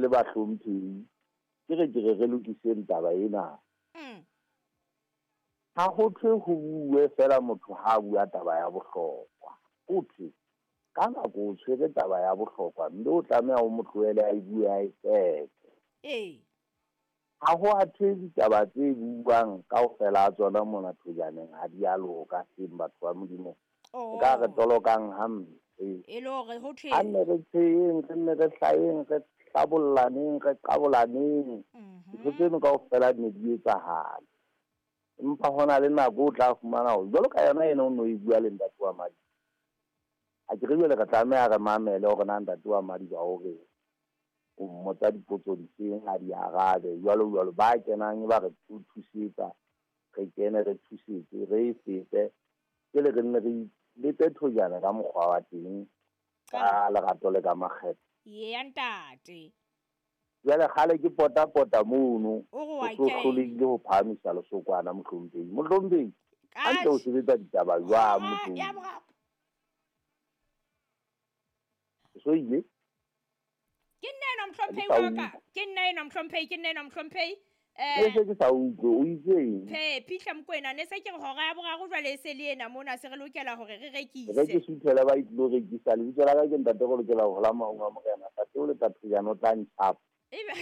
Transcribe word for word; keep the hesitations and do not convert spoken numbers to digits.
le bahlomphehi, ke re ke re re lokiseng taba ena. Mm. Ha ho thwe ho bue fela motho ha a bua taba ya bohlokwa. Ho thwe ka nako o tshwere taba ya bohlokwa mme o tlameha o mo tlohele a e bue a e qete. Ee. Ha ho a thwe ditaba tse buuwang kaofela ha tsona mona thojaneng ha di a loka hleng batho ba Modimo. Oh. E ka re tolokang hampe. E le hore ho thwe Ha nne re tsheheng, re nne re hlayeng, re hlabollaneng, re qabolaneng. Mhm. Ntho tseno kaofela di ne di etsahala. Empa ho na le nako o tla fumana hore jwalo ka yona ena o no e bua le ntate wa Madiba. Ha ke re jwale re tlameha re mamele hore na ntate wa Madiba o reng. O mmotsa dipotso difeng a di arabe jwalo jwalo. Ba kenang ba re thusetsa, re kene re thusetse, re e fete. Jwale re nne re lete thojana ka mokgwa wa teng ka lerato le ka makgethe. Eya ntate. Jwale kgale ke pota-pota mono, O re o wa so kena. hlolehile ho phahamisa lesokwana mohlomphehi. Mohlomphehi, Ka hantle o sebetsa ditaba jwang Ah, mohlomphehi? ya boraro. O so ile? Ke nna enwa mohlomphehi Ha ke sa wa ka. utlwe. Ke nna enwa mohlomphehi, ke nna enwa mohlomphehi. Ne Eh, se ke sa utlwe, o itse eng? Phe, Phihla Mokoena, ne se ke re hora ya boraro jwale e se le ena mona, se re lokela hore re rekise. Re ke suthele ba tlilo rekisa. Lebitso la ka ke ntate go lokela ho hola maong a morena. Ntate o le thojana o tla ntjhapa. Ebe